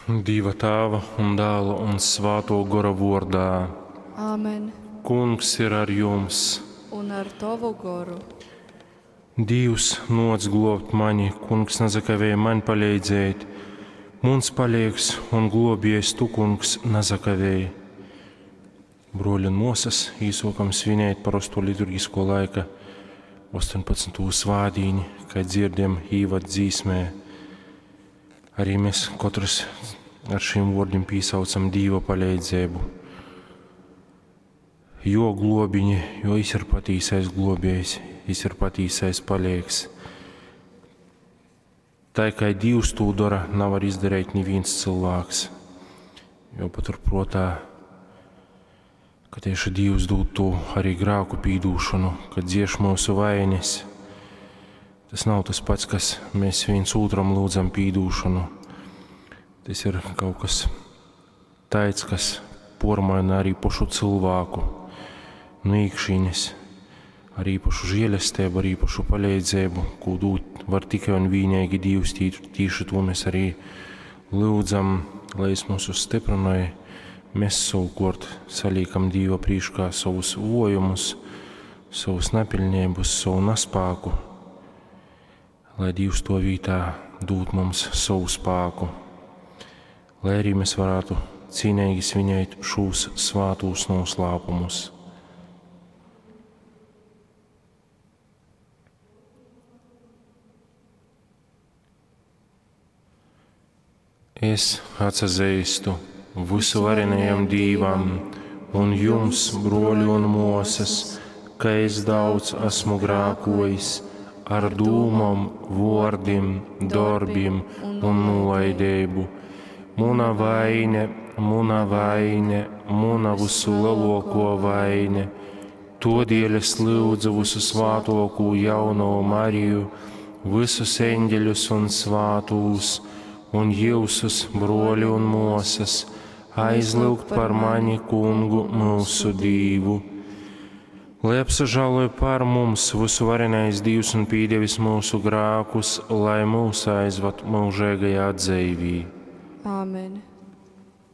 Dīva Tāva un Dāla un Svātō Gora vōrdā. Āmen. Kungs ir ar jums. Un ar tovu goru. Dīvs, nōc glōbt mani, Kungs, nasakavēj maņ paleidzēt. Muns paleigs un glōbējs tu, Kungs, nasakavēj. Brōļi un mōsas, īsōkam svinēt parosto liturgisko laika 18. svātdīni, kai dzirdam īvad dzīsmē. Arī mēs katrs ar šiem vārdiem pīsaucam Dīva palīdzību. Jo globiņi, jo viņš ir patīsais globējs, viņš ir patīsais palīgs. Tā kā Dievs to dara, nevar izdarīt neviens cilvēks. Jo paturprātā, ka tieši Dievs dod to arī grēku pīdūšanu, kad dzieš mūsu vainas. Tas nav tas pats, kas mēs viens otram lūdzam pīdūšanu. Tas ir kaut kas tāds, kas pormaina arī pašu cilvēku no iekšienes, ar īpašu žēlastību, ar īpašu palīdzību, ko dot var tikai un vienīgi Dievs. Tīši to mēs arī lūdzam, lai es mūsu stiprināja. Mēs savukārt saliekam Dieva priekšā savus vojumus, savus nepilnības, savu nespēku, lai Dievs to vietā dod mums savu spēku, lai arī mēs varētu cīnīgi svinēt šos svātos noslēpumus. Es atsazīstu visuvarenajam Dīvam un jums, broļi un mosas, ka es daudz esmu grākojis ar dūmom, vōrdim, darbim un nolaidību. Muna vaine, muna vaine, muna visu lielāko vaine. Todēļ es lūdzu visu svātoko jauno Mariju, visus eņģeļus un svātūs, un jūsus, broļi un mosas, aizlūgt par mani kungu mūsu Dīvu. Lai apsažāloja pār mums visu varenais Dīvs un pīdevis mūsu grākus, lai mūs aizvad mūžīgajā dzīvī. Āmen.